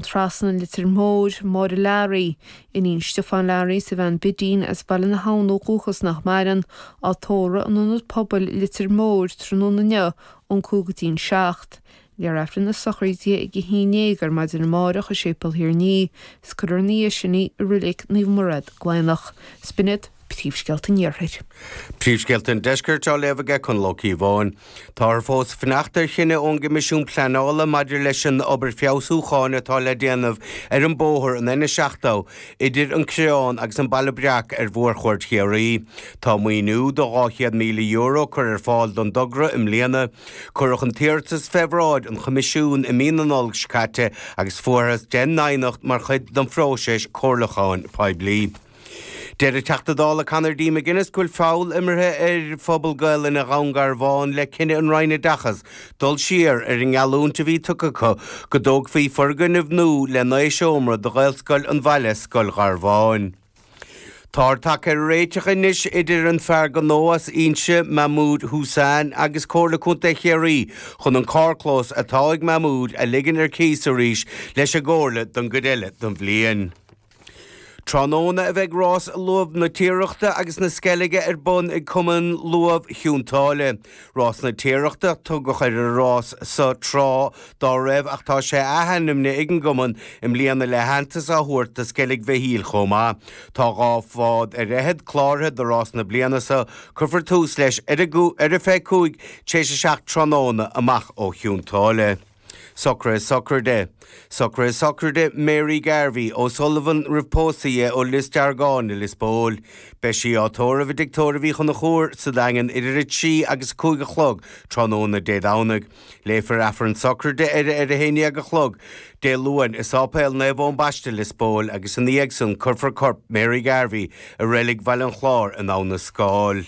Trasna, an Leitir Móir, Máire Learaí, iníon Stiofán Learaí is a bhean Bidín as Baile na hAbhann ó dhúchas nach maireann, á tórramh in Ionad Pobail Leitir Móir tráthnóna inniu ón 5 go dtí'n 7. Léifear Aifreann na sochraide ag 11 ar maidin amárach i Séipéal Thír an Fhia is cuirfear ina dhiaidh sin í i Reilig Naomh Murad, Gleann Fhiodh. 'S b'in iad príomhscéalta an Iarthair. Príomhscéalta an Deiscirt á léamh aige Conall Ó Cíobháin. Táthar fós ag fanacht ar chinneadh ón gCoimisiún Pleanála maidir leis an obair feabhsúcháin atá le déanamh ar an bóthar, an N70, idir an Creán agus an Baile Breac ar mhórchuaird Chiarraí. Tá maoiniú de €200,000 curtha ar fáil don dtogra i mbliana. Cuireadh an t-iarratas fé bhráid an Choimisiúin i mí na Nollag seo caite agus fuarthas 10 n-aighneacht mar chuid den phróiseas comhairliúcháin poiblí. Deir an Teachta Dála Conor D. McGuinness go bhfuil feall imeartha ar phobal Gaelainne Dhún Garbhán le cinneadh an Roinn Oideachais dul siar ar an ngeallúint a bhí tugtha acu go dtógfaí foirgneamh nua le 9 seomra do Ghaelscoil an bhaile, Scoil Gharbháin. Táthar tagtha ar réiteach anois idir an fear gnó as Inse, Mahmood Hussain, agus Comhairle Contae Chiarraí chun an carrchlós atá ag Mahmood a ligean ar cíos arís leis an gComhairle don gcuid eile den bhliain. Tráthnóna a bheidh rás Luamh na Tiarachta agus na Sceilge ar bun ag Cumann Luamh Chionn tSáile. Rás na Tiarachta a tugadh ar an rás so tráth dá raibh ach tá sé athainmnithe ag an gcumann i mbliana le haitheantas á thabhairt do Sceilg Mhichíl chomh maith. Tá 2 bhád ar fhichead cláraithe do rás na bliana so. Cuirfear tús leis ar a 25 tar éis a 7 tráthnóna amach ó Chionn tSáile. Socruithe Sochraide. Socruithe Sochraide Mary Garvey, O'Sullivan roimh pósadh di ó Lios Deargáin i Lios Póil. Beidh sí á tórramh i dTigh Tórraimh Uí Chonchúir sa Daingean idir 3 agus 5 a chlog tráthnóna Dé Domhnaigh. Léifear Aifreann Sochraide uirthi ar a 11 a chlog Dé Luain i Sáipéal Naomh Eoin Baiste, Lios Póil agus ina dhiaidh san cuirfear corp Mary Garvey i Reilig Bhaile an Chláir in Abha na Scáil.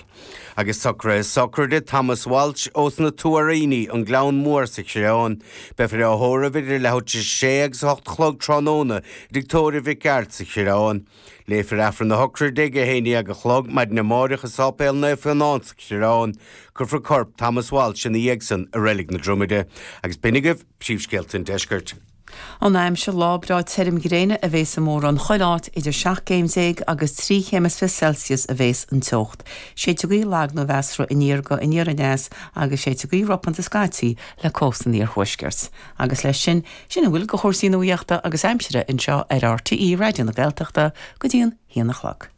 Agus socruithe sochraide Thomas Walsh ós na Tuairíní, an Gleann Mór sa Chreán. Beifear á thórramh idir leathuair tar éis a sé agus a hocht a chlog tráthnóna i dTigh Tórraimh Mhic Gearailt sa Chreán. Léifear Aifreann na sochraide ag 11 a chlog maidin amáireach i Sáipéal Naomh Fionán sa Chreán. Cuirfear corp Thomas Walsh ina dhiaidh san i Reilig na Dromaide. Agus b'in agaibh príomhscéalta an deiscirt. An aimsir, Lá breá tirim gréine a bhéas i mórán chuile áit, idir 17 gcéim agus 23 chéim Celsius a bhéas an teocht. Séidfidh gaoth lag nó mheasartha aniar go aniar aneas agus séidfidh gaoth ropanta scaití le cósta an iarthuaiscirt. Agus leis sin, sin a bhfuil de chúrsaí nuaíochta agus aimsire anseo ar RTÉ Raidió na Gaeltachta go dtí an haon a chlog.